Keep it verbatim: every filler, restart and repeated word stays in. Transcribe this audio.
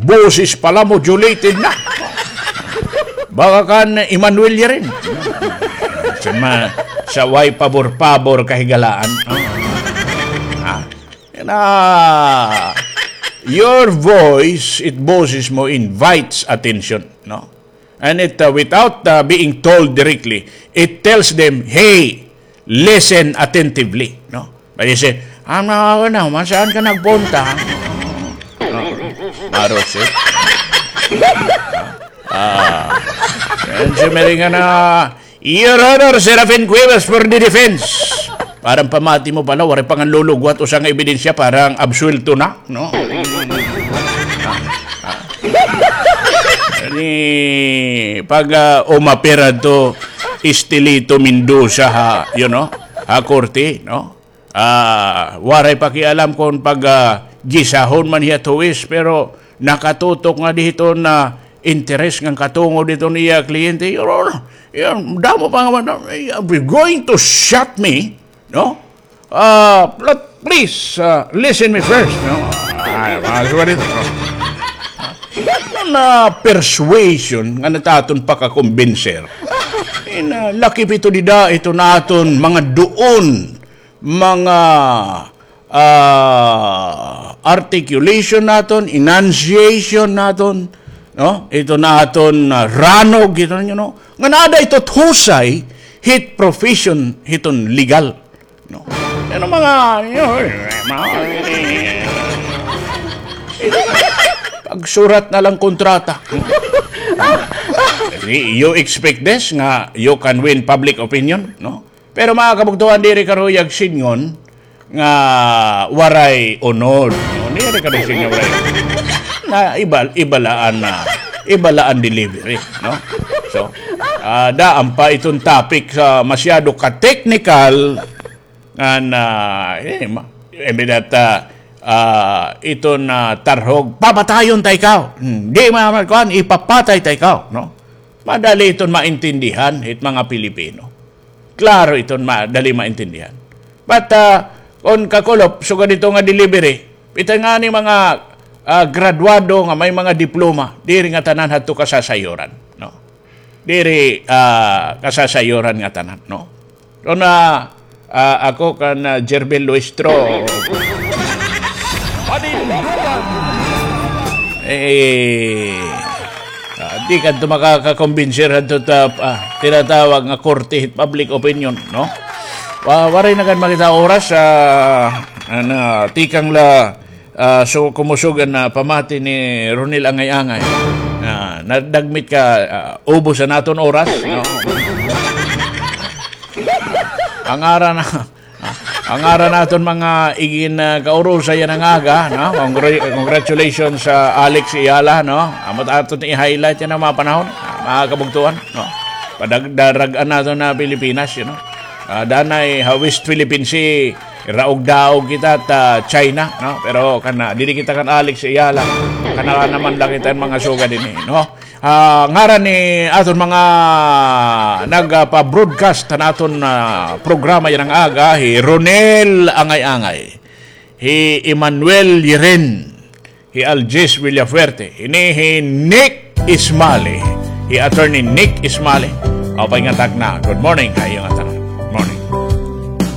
Boses pala modulated na. Baka kan Emmanuel Yirin. Sa, ma, sa way pabor-pabor kahigalaan. Ah. Na, your voice, it boses mo, invites attention, no? And it, uh, without, uh, being told directly, it tells them, "Hey, listen attentively," no? But you say, "Ah, na, na, man, saan ka nagpunta?" No? Maros, eh. Ah. And si Meringa na, "Your Honor, Serafin Cuevas for the defense." Parang pamati mo pala, waray pa nga lulugwat usa nga ebidensya, parang absuwelto na, no? Ni pag, ah, umapir adto Estelito Mendoza ha, you know, ha korte, no? Ah, waray pakialam kon pag, ah, gisahon man hiya huwis, pero nakatutok nga didto na interes ngan katungod didto niya kliyente. Your Honor, yan, damo pa nga man, eh, are you going to shut me? No? Ah, pl-, please, ah, listen me first, no? Ay, mga suwa dito, no? Na persuasion nga nataton pakakumbinser. In, ah, laki pito dida, ito naton mga duon, mga, ah, articulation naton, enunciation naton, no? Ito naton, ah, ranog, ito ninyo, no? Nga naada ito husay hit profession hiton legal, no? Ano mga, you know, mga, pagsurat na lang kontrata. You expect this nga you can win public opinion, no? Pero mga kabugtuan, diri karuyag sidngon nga waray unod, no? Diri karuyag sidngon nga waray. Na iba, iba la an, ah, iba la an delivery, no? So, ah, daan pa iton topic sa masyado ka-technical, ngan, ah, eh, ma-, imbes that, ah, ah, iton, ah, tarhog, "Papatayon ta ikaw." Hmm, di ma-, kuan, ipapatay ta ikaw, no? Madali iton maintindihan hit mga Pilipino. Klaro iton, madali maintindihan. But, ah, kon kakulop, sugad ito nga delivery, ito nga ni mga, ah, graduado nga may mga diploma, diri nga tanan hadto kasasayuran, no? Diri, ah, kasasayuran nga tanan, no? Kon, ah, ah, ako kan, ah, Jervil Luistro. Panindugan! Eh, ah, di ka ito makakakumbinser hadto ta, ah, tinatawag nga korte hit public opinion, no? Wa-, waray na kan makita oras, ah, an, ah, tikang la, ah, so, kumusog an, ah, pamati ni Ronel Angay-Angay. Ah, nadagmit ka, ah, ubos an aton oras, no? An ngaran na, an ngaran naton mga igin, ah, kaurusay yana nga aga, no? Congra-, congratulations sa Alex Ayala, no? Amo it aton i-highlight yana nga mga panahon, ah, mga kabugtuan, no? Padag-, darag-an naton an Pilipinas, you know? Ah, danay ha West Philippine Sea, raog-daog kita ta China, no? Pero kana, diri kita kan Alex Ayala, kana naman la kita mga sugad dinhi, no? Ah, ngaran ni aton mga nagpa-broadcast han aton, ah, programa yana nga aga, hi Ronel Angay-Angay, hi Emmanuel Yirin, hi Algis Villafuerte, ini hi Nick Ismali, hi Attorney Nick Ismali. Maupay nga takna. Good morning ha iyo ngatanan. Morning.